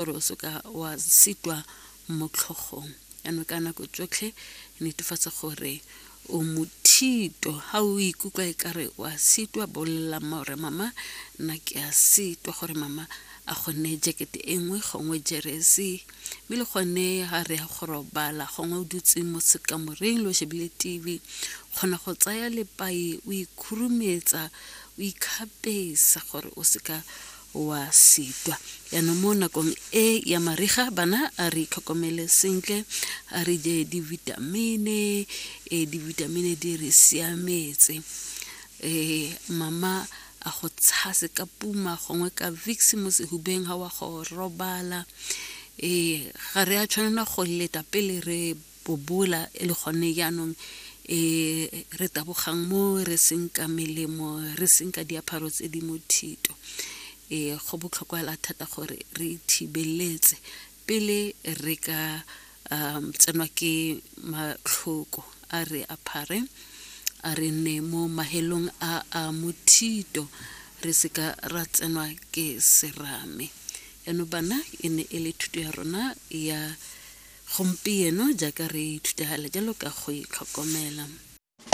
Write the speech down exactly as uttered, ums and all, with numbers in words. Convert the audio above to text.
Gore o seka wa sitwa mo tlhogong. Jaanong ka nako tsotlhe netefatsa gore o mothito. Ga o ikutlwa e kare wa sitwa, bolelela mma gore, "Mama, nna ke a sitwa," gore mama a go neye jacket e nngwe gongwe jeresi. Mme le gone ga re ya go robala, gongwe o dutse mo sekamoreng le o shebile T V, kgona go tsaya lepai o ikhurumetsa, o ikgapesa gore o seka wa sitwa. Jaanong mo nakong e ya mariga, bana, a re itlhokomele sentle, a re je divitamine. E divitamine di re siametse. um mama a go tshase ka Puma gongwe ka Vicks mo sehubeng ga wa go robala. um ga re a tshwanela go leta pele re bobola e le gone jaanong um re tabogang mo re senka melemo, re senka diaparo tse di mothito. um go botlhokwa hela thata gore re ithibeletse pele re ka um tsenwa ke matlhoko. A re apare, a re nne mo mahelong a a mothito, re seka ra tsenwa ke serame. Jaanong bana, e ne e le thuto ya rona ya gompieno jaaka re ithuta jalo ka go itlhokomela.